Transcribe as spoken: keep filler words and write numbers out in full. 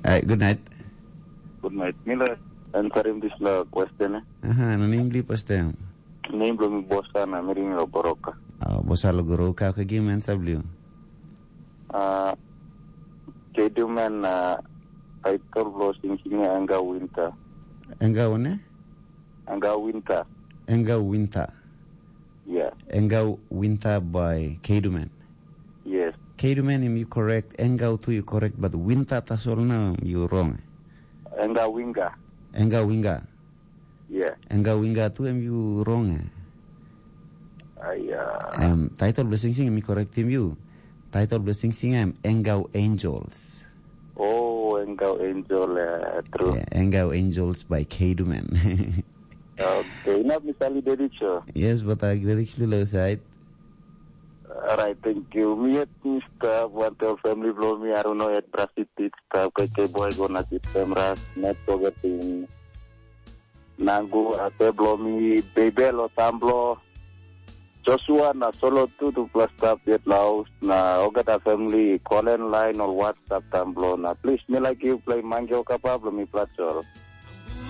Ai, good night. Good night. Mi laik answerim dispela question, eh. Aha, na nem bli pastem. Nem bilong mi Bosa na mi ring lo Boroka. Ah, Bosa lo Goroka, okay, give me answer bli. Ah, kedumen, ah, title bilong singsinga Enga Winter. Enga one? Enga Winter. Enga Winter. Yeah. Enga Winter by Kedumen. Yes. Kedumen, im you correct. Enga tu you correct, but Winter tasol na you wrong. Enga Winga. Enga Winga. Yeah. Enga Winga tu em you wrong. Aya. Um, title blessing sing mi correct him you. Title blessing sing em Engau Angels. Oh, Engau Angel, yeah, true. Yeah, Engau Angels by Kedumen. Okay, enough, Mister Ali Dedit Show. Yes, but I very clearly side. Alright, thank you. Mi yet Mister Buantel family blow me. I don't know yet Brasit it. Keke boy go na sit famras. Not forgetting Nangu, ate bilong mi, Bebe lo Tamblo, Joshua na Solo tu tupela stap yet laus, na olgeta family, Kolen lain ol WhatsApp Tamblo, na plis mi laik yu play Mange Okapa bilong mi Platsol.